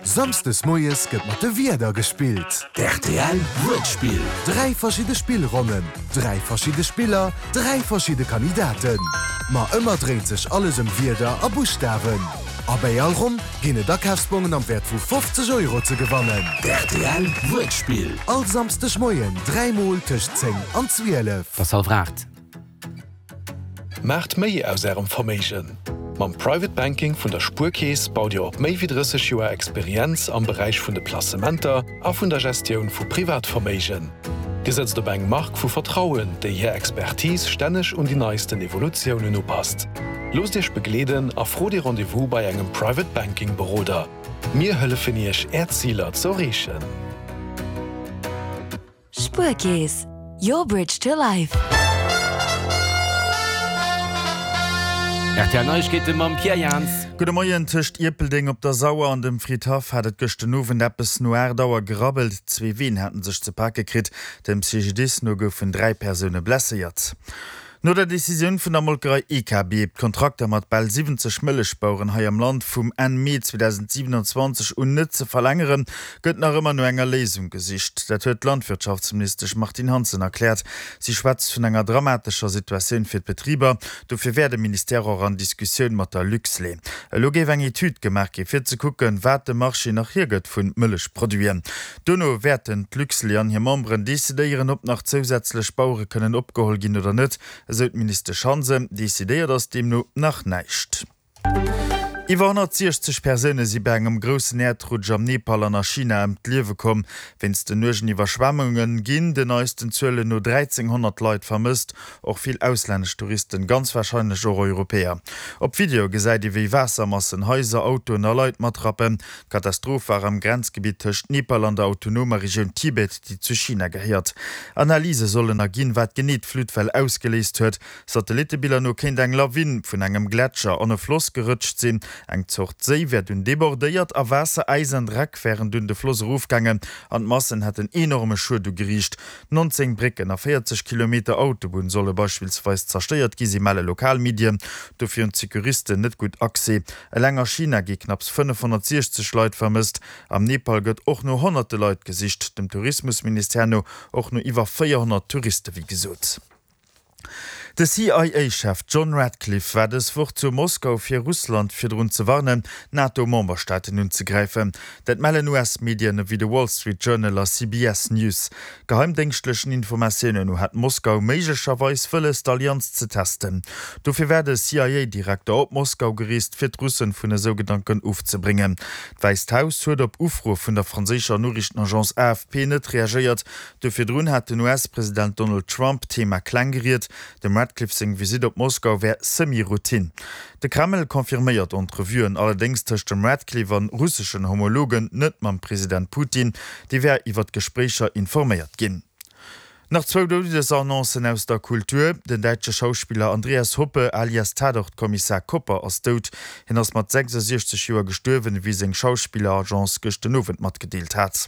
Samsdes moies gëtt mat de Wierder gespillt. Rtl Wuertspill. 3 verschidde Spillronnen, 3 verschidde Spiller, 3 verschidde Kandidaten. Ma ëmmer dréint sech alles ëm Wierder a Buschtawen. A bäi all Ronn ginn et Akafsbongen am Wäert vu 50 Euro ze gewannen. Rtl Wuertspill. All Samsdeg Moien 3 mol tëscht 10 an 12. 't ass hallwer 8. Maacht méi aus Ärem Verméigen! Mam Private Banking vun der Spuerkeess baut Dir op méi wéi 30 Joer Experienz am Beräich vun de Placementer a vun der Gestioun vu Privatverméigen. Dir sëtzt op eng Mark vu Vertrauen, déi hir Expertise stänneg un déi neisten Evolutiounen upasst. Loosst Iech begleeden a frot ee Rendez-vous bei engem Private Banking Beroder. Mir hëllefen Iech, Är Ziler z'erreechen. Spuerkeess, your bridge to life. Rtl Neiegkeete mam Pierre Jans. Gudde Moien, Tëscht Ierpeldeng op der Sauer an dem Fridhaff hat et gëscht den Owend eppes no 8 Auer gerabbelt. Zwee Ween haten sech ze pake kritt. Dem CGDIS no goufen 3 Persoune blesséiert. No der Decisioun vun der Molkerei EKB, d'Kontrakter mat bal 70 Mëllechbaueren hei am Land vum Enn Mee 2027 un net ze verlängeren, gëtt nach ëmmer no enger Léisung gesicht. Dat huet d'Landwirtschaftsministesch Martine Hansen erkläert. Si schwätzt vun enger dramatescher Situatioun fir d'Betriber. Dofir wär de Ministère och an Diskussioun mat der Luxlait. Elo géif eng Etüd gemaach gi fir ze kucken, wat de Marché nach hiergëtt vu Mëllechproduiten. Dono wäerten d'Luxlait an hir Memberen decidéieren, ob nach zousätzlech Bauere kënnen opgeholl ginn oder net, esou d'Ministesch Hansen. Decidéiert ass deemno nach näischt. Iwwer 160 Persoune si bei engem groussen Äerdrutsch am Nepal an a China ëm d'Liewe komm. Wéinst den uergen Iwwerschwemmunge ginn den neisten Zuelen no 1.300 Leit vermësst, och vill auslännesch Touristen, ganz warscheinlech och Europäer. Op Videoe gesäit ee wéi Waassermassen Haiser, Autoen a Leit matrappen. D'Katastroph war am Grenzgebitt tëscht Nepal an der autonomer Regioun Tibet, déi zu China gehéiert. Analyse sollen erginn, wat genee d'Flutwell ausgeléist huet. Satellittebiller no kéint eng Lawin vun engem Gletscher an e Floss gerëtscht sinn. Eng Zort Séi wär dunn debordéiert a Waasser, Äis an Dreck wären dunn de Floss erofgaangen an d'Massen hätten enorme Schued ugeriicht. 19 Brécken a 40 Kilometer Autobunn solle beispillsweis zerstéiert gi sinn, melle lokal Medien. Dofir hunn d'Securisten net gutt Accès. Eleng a China gi knapps 560 Leit vermësst. Am Nepal gëtt och no honnerte Leit gesicht, dem Tourismusministère no och no iwwer 400 Touriste wéi gesot. De CIA-Chef John Ratcliffe war dës Woch zu Moskau fir Russland virdrun ze warnen, d'NATO-Memberstaaten unzegräifen. Dat mellen US-Medien ewéi de Wall Street Journal a CBS News. Geheimdéngschtlechen Informatiounen no hätt Moskau méiglecherweis wëlles, d'Allianz ze testen. Dofir wär de CIA-Direkter op Moskau gereest, fir d'Russen vun esou Gedanken ofzebréngen. D'Wäisst Haus huet op Ufro vun der franséischer Noriichtenagence AFP net reagéiert. Do virdrun hat den US-President Donald Trump d'Thema kleng geriet. Dem Ratcliffe seng Visitt op Moskau wär semi-Routine. De Kreml confirméiert Entrevuen, allerdéngs tëscht dem Ratcliffe an russeschen Homologen, net mam President Putin. Dee wär iwwer d'Gespréicher informéiert ginn. Nach zwou Doudesannoncen aus der Kultur, Den däitsche Schauspiller Andreas Hoppe alias Tatort-Kommissar Kopper ass dout. Hien ass mat 66 Joer gestuerwen, ewéi seng Schauspilleragence gëscht den Owend matgedeelt hat.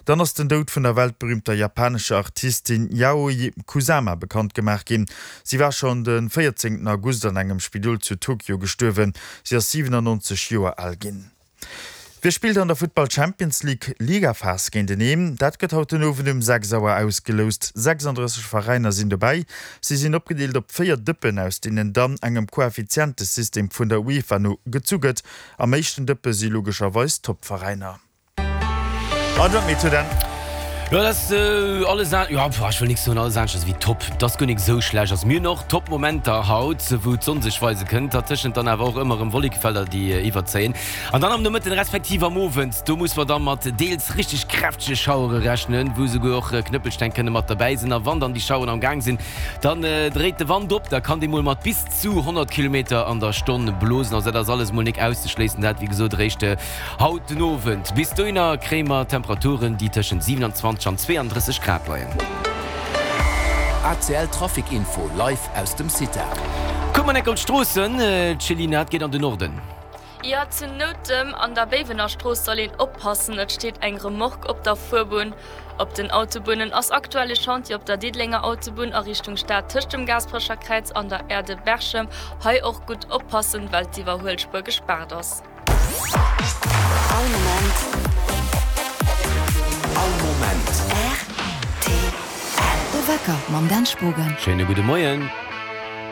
Dann ass den Doud vun der weltberüümter japanescher Artistin Yayoi Kusama bekannt gemaach ginn. Si war schonn de 14 August an engem Spidol zu Tokio gestuerwen. Si ass 97 Joer al ginn. Wie spillt an der Futtball Champions League Ligaphas géinteneen? Dat gëtt haut den Owend um 6 Auer ausgeloust. 36 Veräiner sinn dobäi. Si sinn opgedeelt op 4 Dëppen, aus deenen dann engem Koeffizientesystem vun der UEFA no gezu gëtt. Am éischten Dëppe si logescherweis d'Toppveräiner. An dat méi zu den. Jo, dat ass alles an, jo, ech wëll nik soen alles aneschters ewéi top. Et ass guer nik esou schlecht. Also mir hunn och top Momenter haut, wou d'Sonn sech weise kënnt, dertëschent dann awer och ëmmer erëm Wollekefelder, déi iwwerzéien. An dann am Nomëtten respektiv am Owend, do muss mer da mat deels richteg kräftege Schauere rechnen, wou esouguer och Knëppelsteng kënne mat derbäi sinn. A wann dann déi Schaueren am Gaang sinn, dann dréit de Wand op, da kann dee mol mat bis zu 100 Kilometer an der Stonn blosen. Also dat ass alles mol nik auszeschléissen, dat wéi gesot eréischt Haut den Owend bis dohinner kréie mer Temperaturen, déi tëschent 27 an 32 Grad leien. ACL Trafic Info live aus dem CITA. Kucke mer enk op d'Stroossen, Céline, et geet an den Norden. Jo, zu Noutem an der Béiwener Strooss soll een oppassen, et steet eng Remorque op der Fuerbunn. Op den Autobunnen ass aktuell e Chantier op der Diddelenger Autobunn a Richtung Stad tëscht dem Gaasperecher Kräiz an der Aire de Berchem. Hei och gutt oppassen, well d'Iwwerhuelspuer gespaart ass. All Moment. Tracker mam Dan Spogen. Schéine gudde Moien.